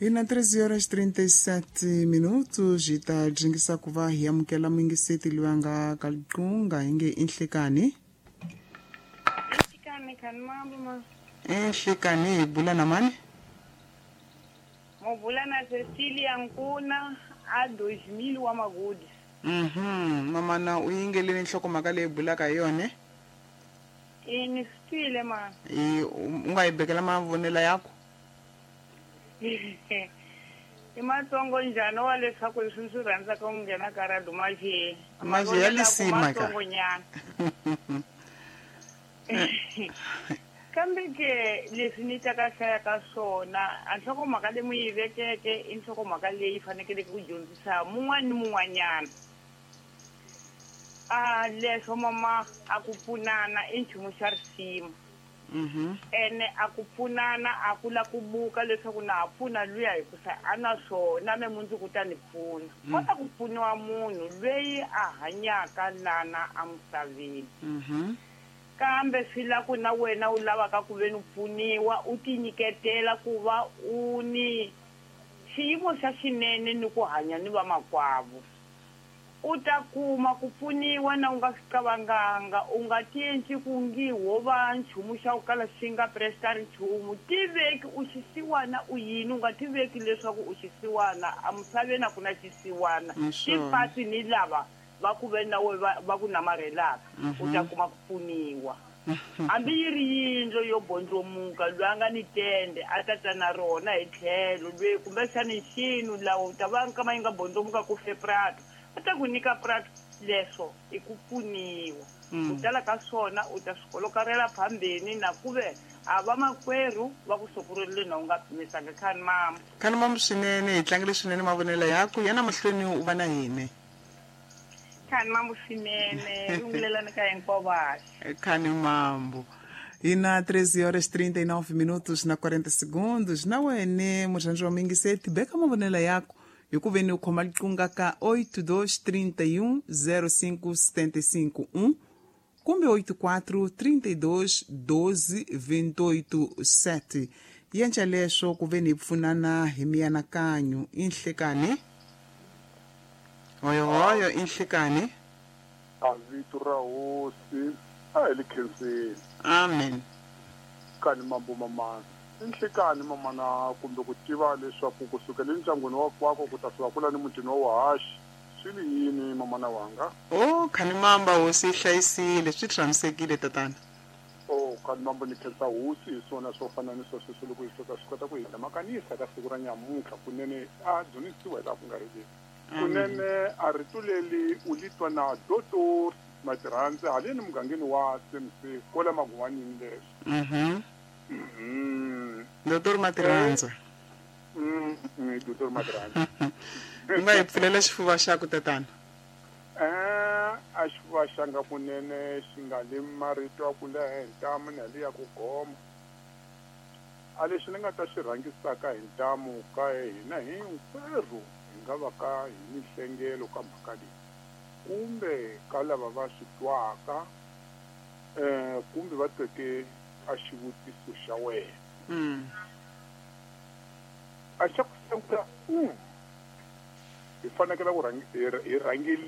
Hi na 13 horas 37 minutos hi ta dringisa ku va hi amukela muyingiseti loyi a nga ka liqunga hi nge i nhlekani. Nhlekani khani mambo ma. I nhlekani hi bula na mani? Mo bula na Cecilia Nkuna a 2000 wa Magudi. Mhm, mamana u yingeleni nhlokomhaka leyi bulaka hi yona? I ni swi twile ma. I u nga yi bekela mavonelo yaku? I matsongo njhani wa leswaku leswi ni swi rhandzaka ku nghena ka radio maje Maje ya lisima ka. matsongo nyana. Kambe ke leswi ni ta ka hlaya ka swona a nhlokomhaka leyi mu yi vekeke i nhlokomhaka leyi fanekeleke ku dyondzisa mun'wana ni mun'wanyana. A leswo mama a ku pfunana i nchumu xa risima. Ene a ku pfunana a ku la ku buka leswaku na ha pfuna luya hikusa a na swona me mundzuku u ta ni pfuna. Kota ku pfuniwa munhu lweyi a hanyaka lana emisaveni. Kambe swi la ku na wena u lavaka ku ve ni pfuniwa u tinyiketela ku va u ni xiyimo xa xinene ni ku hanya ni vamakwavo. U ta kuma ku pfuniwa na u nga swi qavanganga, u nga tiendli ku ngi ho va nchumu xa ku kala xi nga prestari nchumu. Tiveki u xisiwana u yini, u nga tiveki leswaku u xisiwana. Emisaveni a ku na xisiwana. Tipasi ni lava va ku ve na we va ku namarhelaka, u ta kuma ku pfuniwa. Hambi yi ri yindlo yo bondlomuka, loyi a nga ni tende a ta ta na rona hi tlhelo, loyi kumbexani nxinu lawa u ta va nkama yi nga bondlomuka ku fe prato, a ta ku nyika prato. Leswo i ku pfuniwa. Ku tala ka swona u ta swi kolokarela phambeni na ku ve a vamakwerhu va ku sokurerile na u nga pimisanga. Khani mama. Khani mama swinene, hi tlangele swinene mavonelo yaku. Yana mahlweni u va na hina. Khani mambo swinene, rungulelani ka hinkwavo vaxi. Khani mambo. Hi na 13 horas 39 minutos na 40 segundos. Na wene murhandzi wa muyingiseti, beka mavonelo yaku hi ku veni u khoma liqunga ka 8231 05 751 kumbe 84 32 12 28 7. Yenca leswo ku veni hi pfunana hi mianakanyo. I nhlekani? Hoyohoyo, i nhlekani? A vito ra hosi a hi li khenseni. Amen. Kani mambo mamana. I nhlekani mamana kumbe ku tiva leswaku ku sukela endyangwini wa kwako ku ta fika kula ni mutini wa wahaxi swi li yini mamana wanga? Oh, khani mamba hosi yi hlayisile, swi tshamisekile tatana. Oh, khani mambo ni khensa hosi hi swona swo fana ni swa sweswo loko hi soka swi kota ku hi makanisa ka siku ra nyamuntlha kunene a dzunisiwa hi laha ku nga heriki. Kunene a rito leri u li twa na Dotor Matirhandze haleni mugangeni wa CMC kwala Maguwanini leswo. Dotor Matirhandze. Dotor Matirhandze. U nga hi pfulela xifuva xaku tatana? A xifuva xanga kunene xi nga le marito ya ku leha hi ntamu na le ya ku goma. A lexi ni nga ta xi rhangisaka hi ntamu ka hina hinkwerhu hi nga va ka hi mihlengelo ka mhaka leyi kumbe ka lava va swi twaka kumbe va tweke a xivutiso xa wena. A xa ku sungula hi fanekele ku hi rhangeli.